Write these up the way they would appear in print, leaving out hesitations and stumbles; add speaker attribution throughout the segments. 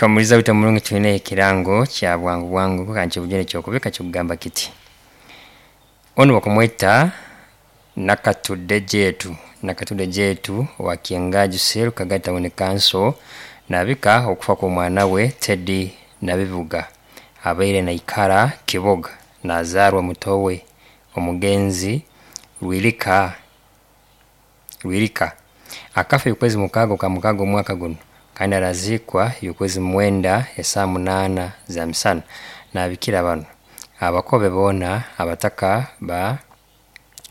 Speaker 1: Omuliza waitu omurungi, twine ekirango kya bwangu bwangu kandi kyobujune kyokubika kikugamba kiti: onu bakumweta Nakatudde Jetu, Nakatudde Jetu owa Kyengaju Cell, Kagadi Town Council, nabika okufa kw'omwana we Teddy Nabibuga, abaire naikara Kiboga, nazaarwa muto we omugenzi Rwirika. Rwirika akafa okwezi 6 okwa 6 omwaka gunu, kandi araziikwa okwezi 9 esaaha 8 za misana. Nabikira banu: abakobe boona, abataka ba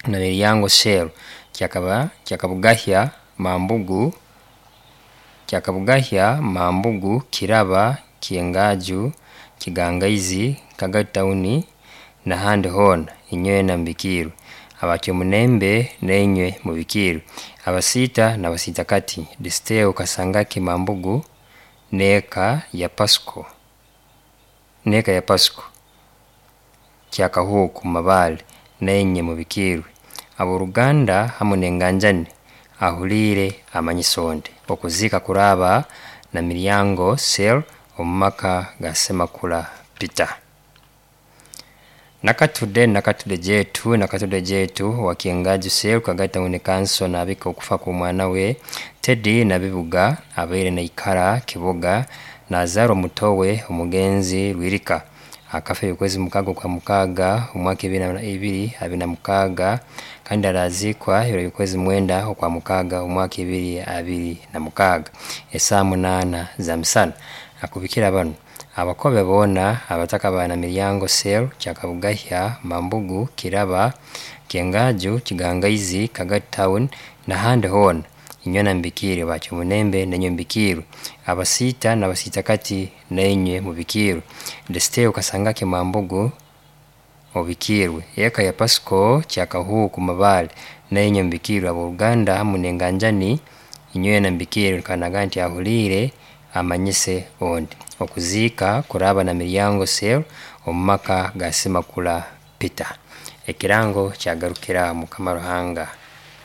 Speaker 1: Namiryango Cell, Kyakabugahya Mambugu, Kyakabugahya Mambugu, Kiraba, Kyengaju, Kigangaizi, Kagadi Town n'ahandi hoona, inywena mubikiirwe. Abakyomunembe nainywe mubikiirwe. Abasiita n'abasiitakati, Disteo Kasangaki Mambugu n'eka ya Pasco, n'eka ya Pasco Kyakahuuku Mabale, nainywe mubikiirwe. Ab'oruganda hamu n'enganjani, ahuliire amanyisa ondi. Okuziika kuraaba Namiryango Cell omu maka ga Semakula Peter. Nakatudde, Nakatudde Jetu, Nakatudde Jetu owa Kyengaju Cell, Kagadi Town Council, nabika okufa kw'omwana we Teddy Nabibuga, abaire naikara Kiboga, nazaarwa muto we omugenzi Rwirika, akafa okwezi 6 okwa 6 omwaka 2026, kandi araziikwa ebiro by'okwezi 9 okwa 6 omwaka 2026 esaaha 8 za misana. Akubikira banu: abakobe boona, abataka ba Namiryango Cell, Kyakabugahya Mambugu, Kiraba, Kyengaju, Kigangaizi, Kagadi Town n'ahandi hoona, inywena mubikiirwe. Bakyomunembe nainywe mubikiirwe. Abasiita n'abasiitakati, nainywe mubikiirwe. Desteo Kasangaki Mambugu obikiirwe. Eka ya Pasco Kyakahuuku Mabale, nainywe mubikiirwe. Ab'oruganda hamu n'enganjani, inywena mubikiirwe. Kandi nagamba nti ahuliire amanyise ondi. Okuziika kuraaba Namiryango Cell omu maka ga Semakula Peter. Ekirango kyagarukira. Mukama Ruhanga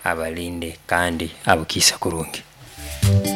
Speaker 1: abalinde kandi abukiise kurungi.